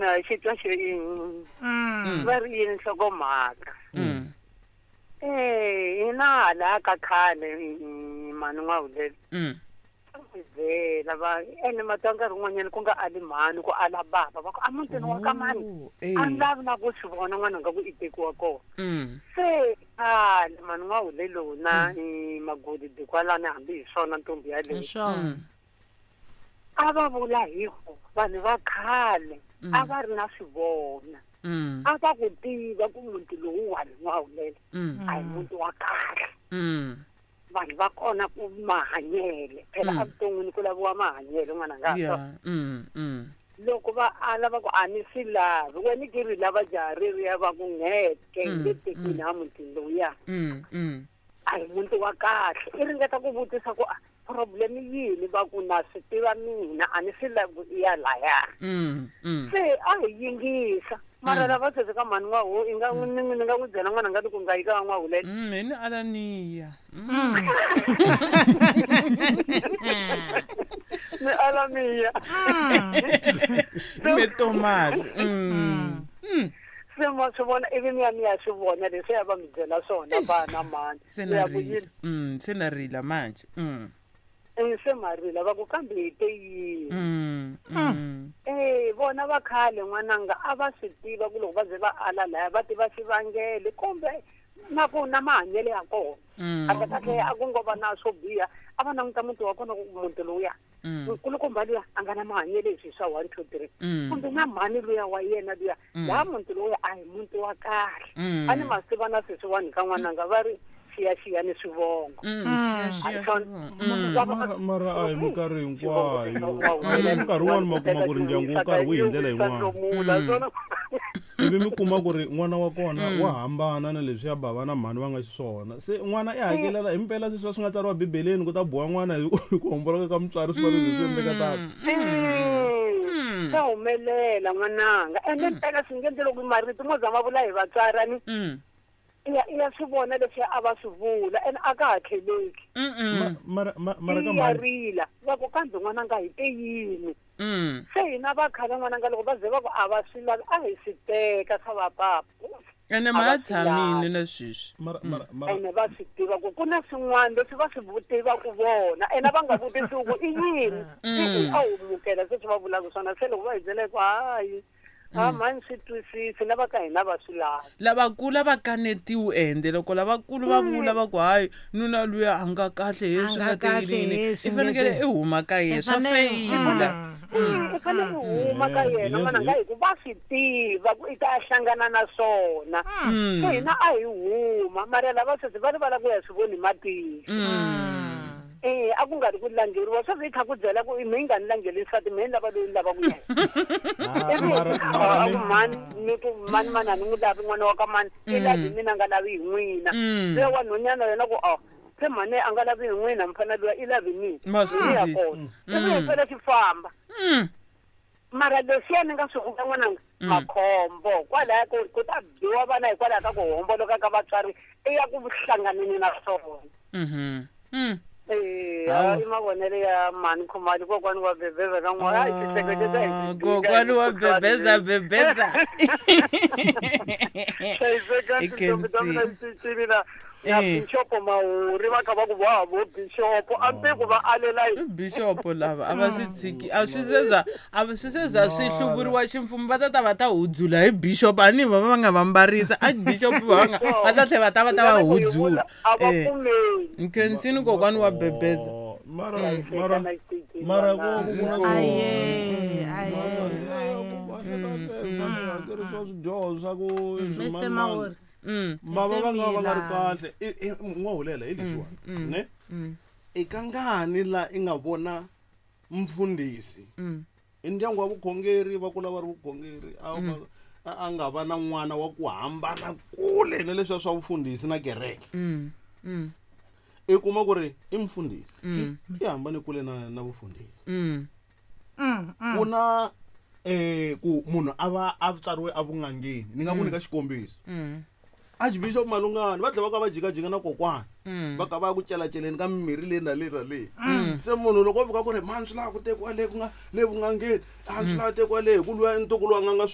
Na xi twa xi va ri yini nhlokomhaka. Eh, hina hala ka khale mhani N'wahulele. Byela va ene mata nkarhi wun'wanyana ku nga ali mhani ku ala bava va ku a mutini wa ka mani a ni lavi na ku swi vona n'wananga ku i tekiwa kona. Se khale mhani N'wahule lowu na magodi dikwalani hambi hi swona ntombi yaleyo. A va vula hi ku vanhu va khale a va ri na swivona. A va ku tiva ku muti lowuwani N'wahulele a hi muti wa kahle. Vanhu va kona ku mahanyele phela evuton'wini ku laviwa mahanyelo n'wananga. Loko va ala va ku a ni swi lavi wena ke ri lava jaha reriya va ku ngeke hi nge tekiwi na mutini lowuya. A hi muti wa kahle. I ringeta ku vutisa ku problem yini va ku na swi tiva mina a ni swi lavi ku i ya laya. Se a hi yingisa mara lava sweswi ka mhani N'wahu i nga ni ni nga n'wi byela n'wananga ni ku nga yi ka N'wahulela. Hi ni ala niya. Ni ala miya. Me Thomas. Se ma swi vona ivi mi ya mi ya swi vona leswi ya va mi byela swona vana mhani. Se Mi na ya ku rila. yini? Se na rila manje. Se ma rila va ku kambe hi te yini? Eh vona va khale n'wananga a va swi tiva ku loko va ze va ala laya va tiva xivangelo kumbe na ku na mahanyelo ya kona. A kahle a ku ngo va na swo biha a va languta muti wa kona ku muti lowuya. Nkulukumba luya a nga na mahanyelo leswi swa 1 2 3. Kumbe na mhani luya wa yena luya laha muti lowuya a hi muti wa kahle. A ni masiva na sweswiwani ka n'wananga va ri xiyaxiya ni swivongo. Xiyaxiya. Mara a hi minkarhi hinkwayo. Nkarhi wun'wani ma kuma ku ri ndyangu wo karhi wu hi ndlela yin'wana. Ivi mi kuma ku ri n'wana wa kona wa hambana na leswiya bava na mhani va nga xiswona. Se n'wana i hakelela hi mpela sweswiya swi nga tsariwa Bibeleni ku ta boha n'wana hi ku homboloka ka mutswari swi fanele swi endleka tano. Swa humelela n'wananga. Ene mpela swi nge endli loko marito mo za ma vula hi vatswari ni. I ya swi vona leswi a va swi vula ene a ka ha tlheleki. Mara mara ka I ya mhani. rila va ku kambe n'wananga hi te yini. Se hina va khale n'wananga loko va ze va ku a va swi lavi a hi swi teka swa va papa. Ene A ma va swi tshamile lavi. na sweswi. Mara mara Ene va swi tiva ku ku na swin'wana leswi va swi tivaka vona ene va nga vutisi ku i yini. A humukela sweswi va vulaka swona se loko va hi byela ku hayi a mhani swi twisisi lava ka hina va swi lavi. Lavakulu a va kanetiwi ende loko lavakulu va vula va ku hayi nuna luya a nga kahle he swi nga teyilini i fanekele i huma ka yena swa feyila. I fanele u huma ka yena n'wananga hi ku va swi tiva ku i ta hlangana na swona. Se hina a hi huma mara lava sweswi va rivala ku ya swi voni matihlo. Eh a ku nga ri ku langeriwa sweswi i kha ku byela ku mi nga ni langeli nsati mi ni lava loyi ni lava ku yena. A ku mhani ni ku mani mani a ni n'wi lavi n'wana wa ka mani i lavi mina nga lavi hi n'wina. Se wa nhwanyana yena ku a se mhani a nga lavi hi n'wina mfana luya i lavi mina. Ma swi Ya twisisa. kona. Se hi fela xi famba. Mara leswiya ni nga swi vula n'wananga makhombo kwalaya ku ta biwa vana hikwalaho ka ku homboloka ka vatswari i ya ku hlanganeni na swona. Eh i mavonelo ya mhani Khumalo kokwani wa bebeza ka n'wana a hi xihleketisa hi Kokwani wa bebeza bebeza. Hlayiseka I tintombi ta mina can see. cincile na na bishop Mahuri va kha va ku va vo bishop a ni tivi ku va alela yini. Bishop lava a va swi tshiki a swi se za a swi se za swi hluvuriwa ximfumo va ta ta va ta hudzula hi bishop a ni va va nga va mbarisa a bishop va nga va ta tlhela va ta va ta va hudzula. A va pfumeli. Nkhensini kokwani wa bebeza. Mara mara mara ku ku na Aye, aye, hakeriwa swidyoho swa ku Mr. Mahuri. Va va nga va nga ri kahle. N'wahulela hi leswiwani ne i ka ngani la i nga vona mfundhisi i ndyangu wa vukhongeri va kula va ri vukhongeri a nga va na n'wana wa ku hambana kule na leswiya swa vufundhisi na kereke. I kuma ku ri i mfundhisi i hambane kule na vufundhisi. Ku na ku munhu a va a tswariwe a vun'angeni ni nga ku nyika xikombiso. Archbishop Malungani va tlhela va ka va jikajika na kokwana va ka va ya ku celaceleni ka mimirhi leyi na leyi na leyi. Se munhu loko o fika ku ri mhani swi lava ku tekiwa le ku nga le vun'angeni a swi lava tekiwa le hi ku luya ntukulu wa n'anga.